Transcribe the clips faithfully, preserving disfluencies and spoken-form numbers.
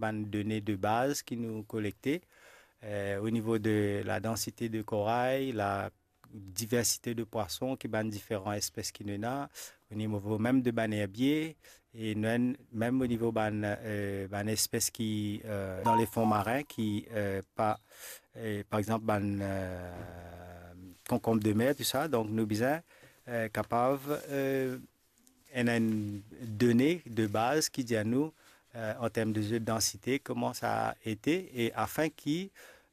bann done de baz ki nou kolekte, eh, o nivo de la dansite de koray, la diversite de pwason ki bann diferan espes ki nou ena, o nivo mem de bann erbie, e nou ena mem o nivo bann, eh, bann espes ki, eh, dan lefon marin ki, eh, pa, eh, par exanp, bann, eh, konkonm de mer, tou sa. Donk, nou bizin, eh, kapav, eh, enn, enn done de baz ki dir nou, eh, an term de zot dansite, kouma sa ete, e afin ki,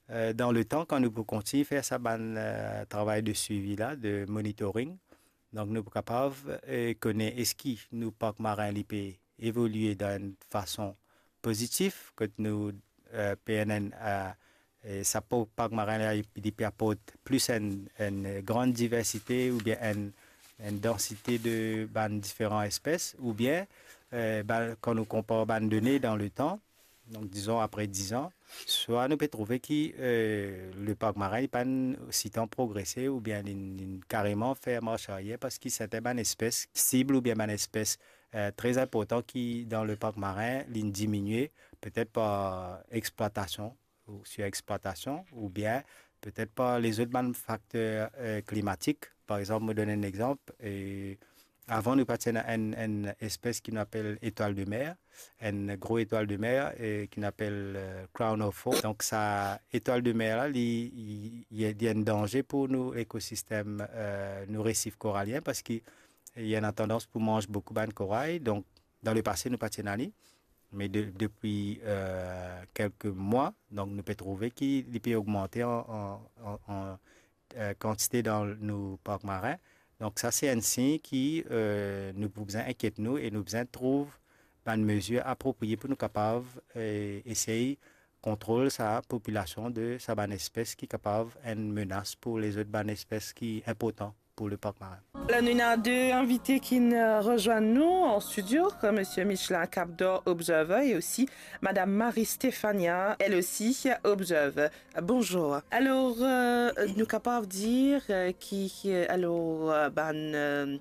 eh, dan letan, kan nou pou kontign fer sa bann, eh, travay de swivi la, de monitoring, donk nou pou kapav, eh, kone eski nou park marin li pe evolie dan enn fason pozitif, kot nou, eh, pe ena, eh, e sa po-, park marin la, li, li pe aport plis enn, enn gran diversite oubien enn, enn dansite de bann diferan espes, oubien, eh, bann, kan nou konpar bann done dan letan, donk dizon apre diz an, swa nou pe trouve ki, eh, le park marin li pa'nn sitan progrese oubien li, li kareman fer mars aryer, parski sertin bann espes sib oubien bann espes, eh, tre inportan ki dan le park marin, li diminie, petet par explwatasion, ou sirexplwatasion, oubien petet par lezot bann fakter, eh, klimatik. Par exanp, mo donn enn exanp, eh, avan nou pa ti ena enn, enn espes ki nou apel etwal de mer, enn gro etwal de mer, eh, ki nou apel, eh, crown of foam. Donk sa etwal de mer la, li, li, li, li enn danze pou nou lekosistem, eh, nou resif koralien, parski li ena tandans pou manz boukou bann koray. Donk, dan lepase, nou pa ti ena li. Me de, depi, eh, kelke mwa, donk nou pe trouve ki li pe ogmante an, an, an, an, eh, kantite dan nou park marin. Donk sa se enn sign ki, eh, nou pou bizin inkiet nou e nou bizin trouv bann mezir apropriye pou nou kapav, eh, esey kontrol sa popilasion de sa bann espes ki kapav enn menas pou lezot bann espes ki inportan pou le park marin. La, nou ena de invite ki'nn, eh, rezwenn nou an studio, Misie Michelin Capdor, observer, e osi Madam Marie Stefania, elle aussi observer. Bonjour. Alor, eh, nou kapav dir, eh, ki, eh, alor, eh, bann, eh,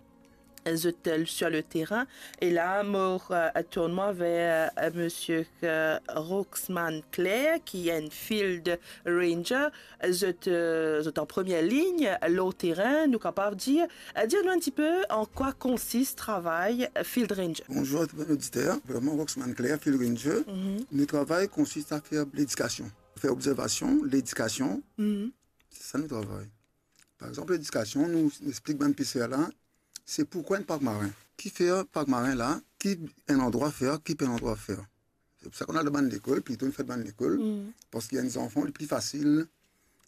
zot, eh, sur le terrain. E la, mo, eh, tourn mwa ver, eh, Misie, eh, Roxman Claire, ki enn field ranger. Zot, eh, zot an premie lign lor terin, nou kapav dir. Eh, dir nou enn tipe an kwa konsis travay field ranger. Bonzour a tou bann oditer. Vreman, Roxman Claire, field ranger. Mhm. Nou travay konsis a fer ledikasion, fer obzervasion, ledikasion. Mhm. Se sa nou travay. Par exanp, ledikasion, nou, nou explik bann peser la, se poukwa enn park marin, ki fer park marin la, ki enn landrwa fer, ki pa enn landrwa fer. Se pou sa ki nou al dan bann lekol, plito nou fer bann lekol, mm, parski enn zanfan, li pli fasil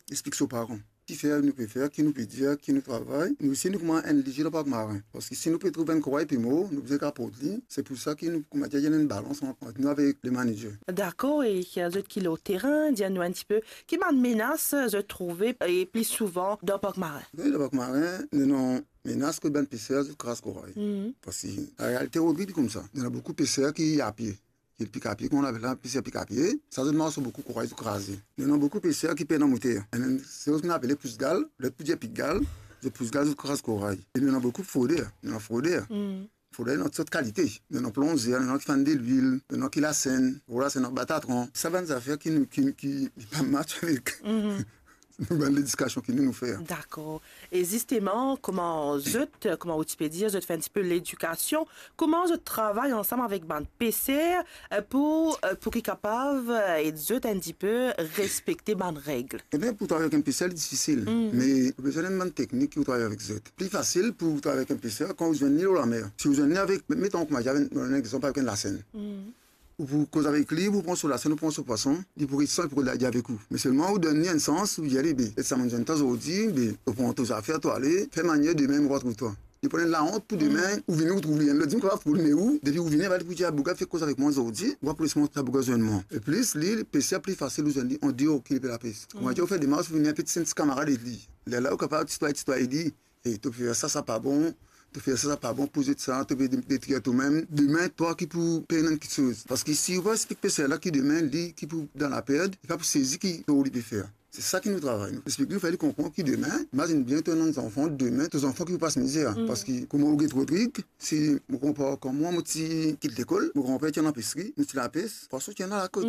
explik so paran ki fer nou pe fer, ki nou pe dir, ki nou travay. Nou osi, nou kouma enn lizir dan park marin. Parski si nou pe trouv enn koray pe mor, nou bizin kaport li. Se pou sa ki nou, kouma dir, ena enn balans ant, ant nou avek le manager. Dakor, e zot ki lor terin, dir nou enn tipe, ki bann menas zot trouve, e pli souvan dan park marin? Wi, dan park marin, nou ena menas kot bann peser zot kraz koray. Mm. Parski, an realite, Rodrig, li koumsa. Ena boukou peser ki apie. Ki pik apie, kouma nou apel la, peser pik apie. Sa, zot mars lor boukou koray, zot kraze. Ena boukou peser ki pena moter. Enn, se zot ki nou apel pousgal, lot pou dir pik gal, zot pous gal, zot kraz koray. E ena boukou froder, ena froder. Mm. Froder, ena tou sort kalite. Ena plonzer, ena ki fann delwil, ena ki lasenn, gro lasenn, batatran. Sa bann zafer ki nou, ki, ki, ki pa match avek, mhm, nou bann ledikasion ki nou, nou fer. Dakor. E zisteman, kouma zot, kouma ou ti pe dir, zot fer enn tipe ledikasion, kouma zot travay ansam avek bann peser, eh, pou, eh, pou ki kapav, eh, ed zot enn tipe respekte bann reg? Ebien, pou travay avek enn peser, li difisil. Mm. Me ou bizin enn bann teknik ki ou travay avek zot. Pli fasil pou travay avek enn peser kan ou zwenn li lor lamer. Si ou zwenn li avek, met, met an, kouma dir, enn, enn exanp avek enn lasenn. Mm. Ou pou koz avek li, ou pou pran so lasenn, ou pran so pwason, li pou res san, li pou rod lage avek ou. Me selman ou donn li enn sans, ou dir li, be, et sa monn zwenn twa zordi, be, ou pran to zafer, to ale, fer manier demin mo retrouv twa. Li pou ena laont pou demin, mm, ou vini, ou trouv li, enn lot dimoun kapav pou li, me ou, depi ou vini, li pou dir, a, boug la fek koz avek mwa zordi, ou pa pou les mwa, sa boug la zwenn mwa. E plis, li, peser pli fasil ou zwenn li andeor ki li pe lapes. Kouma dir, ou fer demars, ou vini enpe ti enn ti kamarad avek li. Lerla ou kapav titwaye, titwaye li, e to fer sa, sa pa bon, to fer sa, sa pa bon, pou zot sa, to pe de-, detrir tomem. Demin, twa ki pou pey enn kiksoz. Parski si ou pa explik peser la ki demin, li ki pou dan lapert, li pa pou sezi ki tor li pe fer. Se sa ki nou travay, nou. Explik li, nou fer li konpran ki demin, imazinn bien to ena enn zanfan, demin, to zanfan ki pou pas mizer. Mm. Parski, kouma ou get Rodrig, si mo konpar kan mwa, mo ti kit lekol, mo granper ti ena lapesri, nou ti lapes, pwason ti ena lakot. Mm.